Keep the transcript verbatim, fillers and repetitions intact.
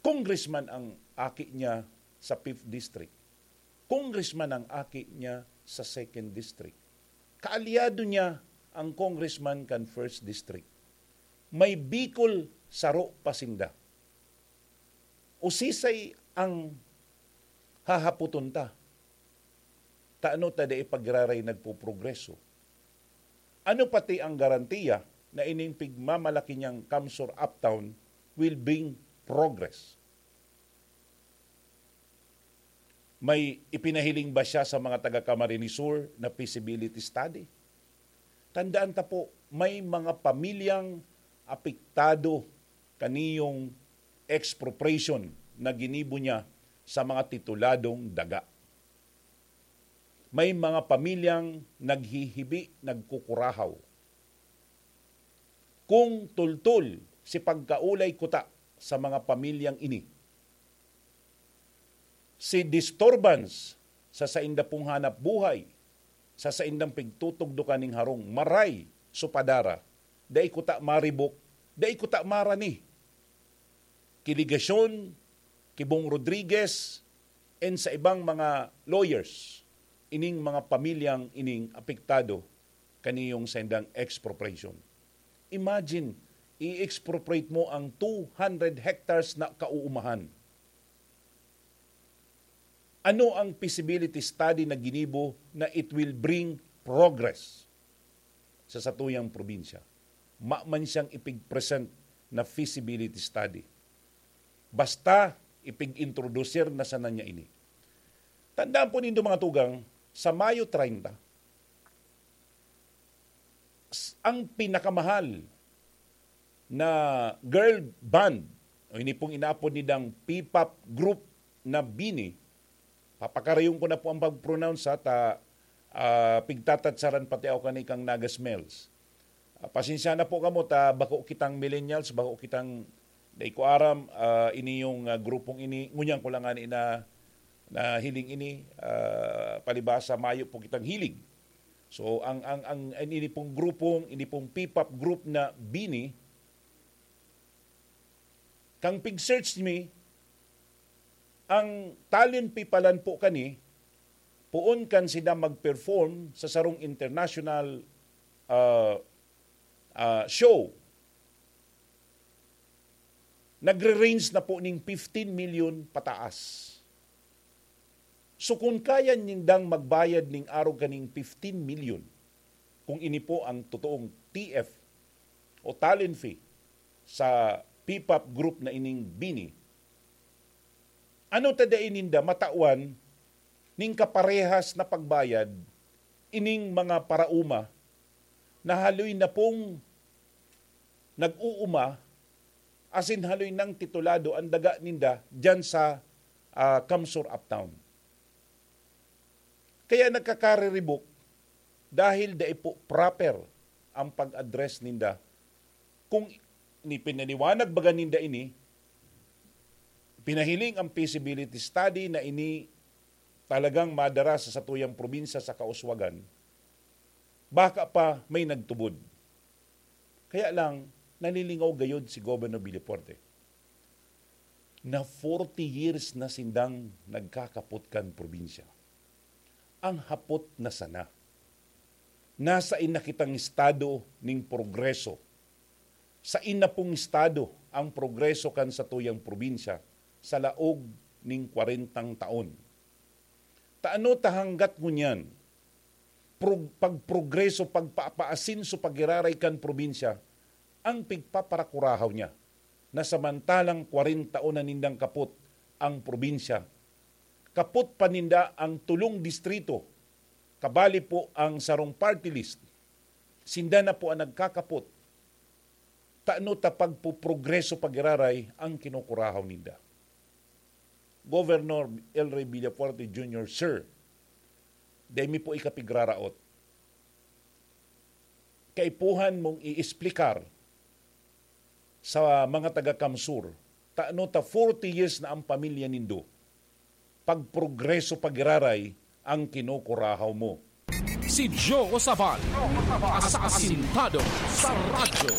Congressman ang aki niya sa fifth District. Congressman ang aki niya sa second District. Kaalyado niya ang congressman kan first District. May Bicol saro pa sinda. Usisay ang hahapoton ta. Tano ta dai pa giraray nagpoprogreso? Ano pati ang garantiya na ining pigmamalaki niyang CamSur Uptown will bring progress? May ipinahiling ba siya sa mga taga Camarines Sur na feasibility study? Tandaan ta po, may mga pamilyang apektado kaniyong expropriation na ginibo niya sa mga tituladong daga. May mga pamilyang naghihibi, nagkukurahaw. Kung tultol si pagkaulay kuta sa mga pamilyang ini, si disturbance sa sainda pong hanap buhay, sa saindang pigtutugdokan ning harong, maray, supadara, dai kuta maribok, dai kuta marani. Ki Legacion, ki Bong Rodriguez, and sa ibang mga lawyers, ining mga pamilyang ining apektado kaniyong saindang expropriation. Imagine, i-expropriate mo ang two hundred hectares na kauumahan. Ano ang feasibility study na ginibo na it will bring progress sa satuyang probinsya? Maman siyang ipig-present na feasibility study. Basta ipig-introducir na sana niya ini. Tandaan po nindo, mga tugang, sa Mayo treinta, s-, ang pinakamahal na girl band, o ini pong inaapod nidang P-pop group na BINI, papakarayon ko na po ang pag-pronounce, ha, ta, ah, pigtatatsaran pati ako kani kang Naga Smells. Ah, pasensya na po kamo ta bako kitang millennials, bako kitang, dai ko aram, ah, ini yung, ah, grupong ini, ngunyan ko lang ani na, na hiling ini, ah, palibasa mayo po kitang hiling. So, ang, ang, ang, ang ini pong grupong, ini pong P-pop group na BINI, kang pig-search mi, ang talent fee palan po kani, poon kan sila mag-perform sa sarong international, ah, ah, show, nagre-range na po ning fifteen million pataas. So, kun kaya nindang magbayad ning arog kaning fifteen million, kung ini po ang totoong T F o talent fee sa P-pop group na ining BINI, ano ta dai ninda matawan ning kaparehas na pagbayad ining mga paraoma na haloy na pong nag-uuma asin haloy nang titulado an daga ninda diyan sa, ah, CamSur Uptown. Kaya nagkakariribok dahil dai po proper ang pag-address ninda. Kung ni pinaliwanag baga ninda ini, pinahiling ang feasibility study na ini talagang madara sa satuyang probinsya sa kauswagan, baka pa may nagtubod. Kaya lang, nalilingaw gayod si Governor Villafuerte na forty years na sindang nagkakapot kan probinsya. Ang hapot na sana, nasa ina kitang estado ning progreso? Sa ina pong estado ang progreso kan satuyang probinsya sa laog ning kwarentang taon? Taano ta hanggat ngunyan, prog-, pagprogreso, pagpapaasinso, pagiraray kan probinsya, ang pigpaparakurahaw niya na samantalang kwarenta taon na nindang kapot ang probinsya, kapot pa ninda ang tulong distrito, kabali po ang sarong party list, sinda na po ang nagkakapot. Tano ta pagpoprogreso pagiraray ang kinukurahaw ninda. Governor El Rey Villafuerte Junior, sir, dai mi po ikapigraraot. Kaipuhan mong iesplikar sa mga taga Kamsur, tano ta forty years na ang pamilya nindo, pagprogreso pagiraray ang kinukurahaw mo. Si Joe Sabal, asasintado sa radyo.